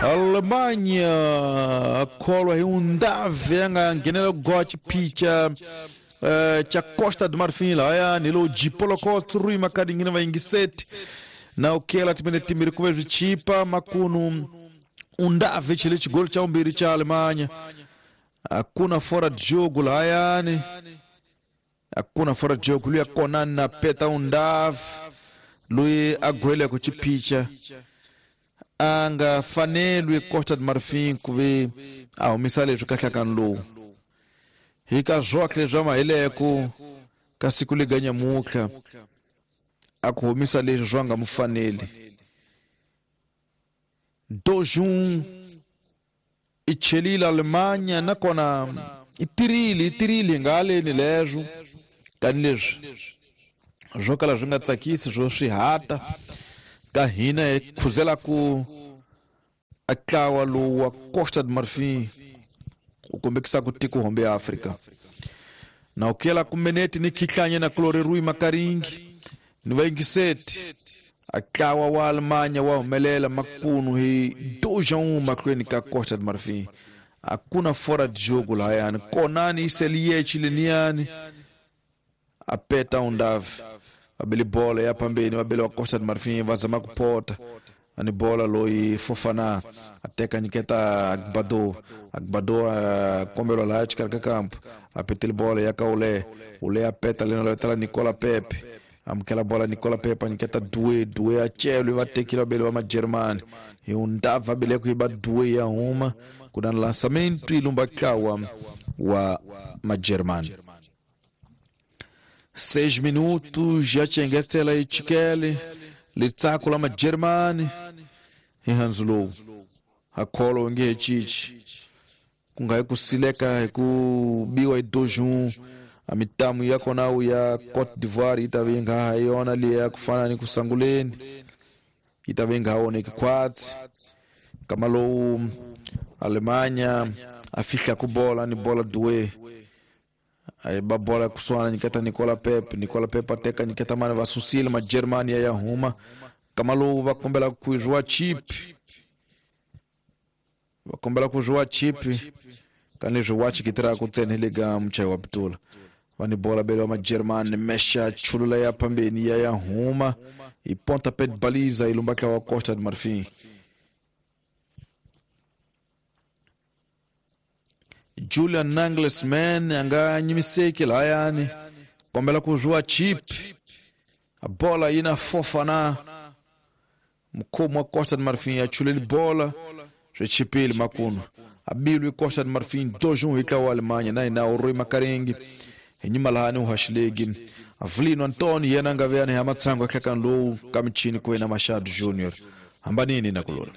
Alemanha kholwa hi Undav ya nga nghenela ku goa xiphica cha Costa do Marfim lahayani hi lowu Jipolokot Rui Makadingini va yingiseti na ukela timene timbirhi kuve swi chipa makunu Undav chele xigolo cha vumbirhi cha Alemanha. Hakuna fora de jogo lahayani, hakuna fora de jogo. Luya Konan na peta Undav loyi a gweleko xiphica a nga fanelwi Costa do Marfim ku ve a humisa leswi ka nhlakano lowu hi ka swohle swa mahileko ka siku lega nyamutlha a ku humisa leswi swa nga mu faneli. Dojun i chelile Alemanha nakona i tirile nga haleni leswo tanihileswi swo kala swi nga tsakisi swo swi hata ka hina hi khuzela ku a tlawa lowu wa Costa do Marfim u kombekisa ku tiko hombe ya Afrika. Na ukela kumeneti ni khihlanye na kulori Rui Makaringi ni vayingiseti a tlawa wa Alemanha wa humelela makunu hi 2-1 mahlweni ka Costa do Marfim. Hakuna fora de jogo lahayani. Konani iseliyechi leniyani a peta Undav vabeli bola ya pambeni vabeli wa Costa do Marfim va zama ku pota ani bola loyi Fofana a teka nyiketa Agbado. Agbado a kombelwa laha xikarhi ka kampo a petele bola ya ka Ule. Ule a peta lena letela Nicola Pepe amukela bola Nicola Pepe a nyiketa Due. Due a celwi va tekile vabeli va Majeremani hi Undav va bele ku yiba Due ya huma ku na lançamento i lumba tlawa wa Majeremani. 6 minutos ya chengetela ichikele litsako la Majeremani hi hanzu lowu akholo nge chichi ku nga hi ku sileka hi ku biwa hi dojun a mitamu ya kona ya Cote d'Ivoire yi ta ve yi nga ha yona liya ku fana ni ku sanguleni yi ta ve yi nga ha onheki khwatsi. Kama lowu Alemanha a fihla ku bola ni bola Due a ba bola kusuhana nyiketa Nicola Pepe. Nicola Pepe a teka nyiketa mani va susile Majeremani ya huma. Kama lowu va kombela ku zwiwa chip, va kombela ku zwiwa chip ka leswi wa chikitiraka ntsena hi le ka muchayi wa pitula. Va ni bola bele wa Majeremani mesha chulula ya pambeni ya huma hi ponta pet baliza hi lumba tlawa wa Costa do Marfim. Julian Nagelsmann a nga nyimiseki lahayani kombela ku zwiwa chip a bola yi na Fofana mukhomi wa Costa do Marfim ya chuleli bola swi chipile makunu a bilwi Costa do Marfim 2-1 hi tlawa wa Alemanha na hina Rui Makaringi hi nyima lahani u haxilegi Avlino Antoni yena a nga veyani hi matshango ya nhlekani lowu ka michini ku yena Machado Junior hambanini na kulora.